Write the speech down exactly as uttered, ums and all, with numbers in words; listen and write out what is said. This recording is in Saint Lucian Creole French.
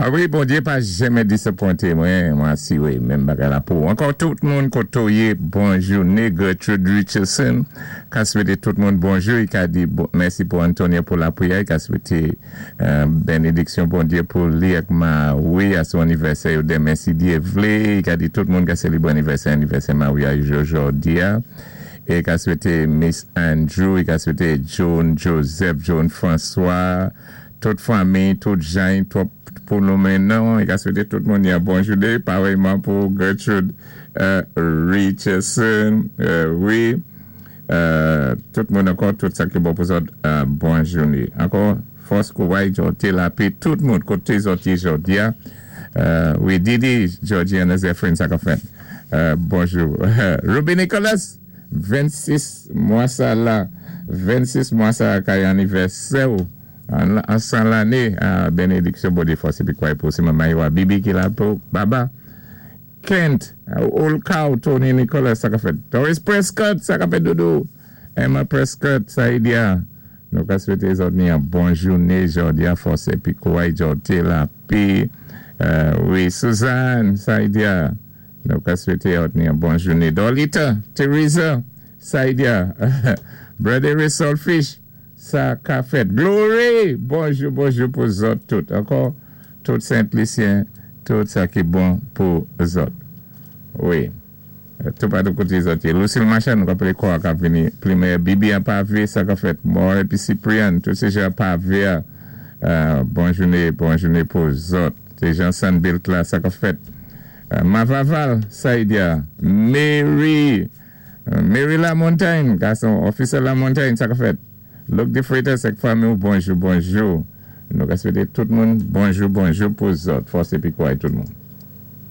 A wi, Bondyé pa janmen dizapwenté mwen, mwen asiwé, menm bagay la pou. Ankò tout moun koto yé, bon jouné, Gertrude Richardson, ka swété tout moun bonjou, i ka di mèsi pou Antonia pou lapriyè, i ka swété benediksyon Bondyé pou li ak Mawi a son anivèsè yo demen si Dyé vlé, i ka di tout moun ka sélibwé anivèsè, anivèsè Mawi a jòdi a, e ka swété Miss Andrew, i ka swété John Joseph, John François, tout fanmi, tout jan, tout pou nou menan, i ka swété tout moun yon bon jouné, parèyman pou Gertrude Richardson, wi, tout moun ankò, tout sa ki bon pou zòt, bon jouné. Ankò, fòs kouway, jòté lapé, tout moun, koté zòt yé jòdi a, wi, Didi, Georgiana Zephyrin, sa ka fèt, bonjou. Ruby Nicholas, vennsis mwa sa la, vennsis mwa sa kay anivèsè ou, an san lanné, benediksyon Bondyé fòs épi kouway pou se manman yo a Bibi ki la pou baba. Kent, Old Cow, Tony Nicholas, sa ka fèt. Doris Prescott, sa ka fèt doudou. Emma Prescott, Saïdia. Nou ka swété zòt ni an bon jouné, jòdi a fòs épi kouway jòté lapé. Wi, Suzanne, Saïdia. Nou ka swété zòt ni an bon jouné. Dolita, Teresa, Saïdia. Brother Solfish, sa ka fèt. Glory! Bonjou, bonjou pou zòt tout. Ankò, tout Saint-Lucien, tout sa ki bon pou zòt. Wi. Tout patou koté zòt yé. Lucille Machan, nou ka pélé kwa ka vini. Plimen Bibi an pavé, sa ka fèt. Mor épi Cyprien, tout sé jan pavé a. Bon jouné, bon jouné pou zòt. Sé Jean Sanbilt la, sa ka fèt. Mavaval, Saïdia. Mary, Mary La Montagne, gason, officer La Montagne, sa ka fèt. Luc de Freitas ak fanmi, bonjou, bonjou. Nou ka swété tout moun bonjou, bonjou pou zòt. Fòs épi kouway tout moun.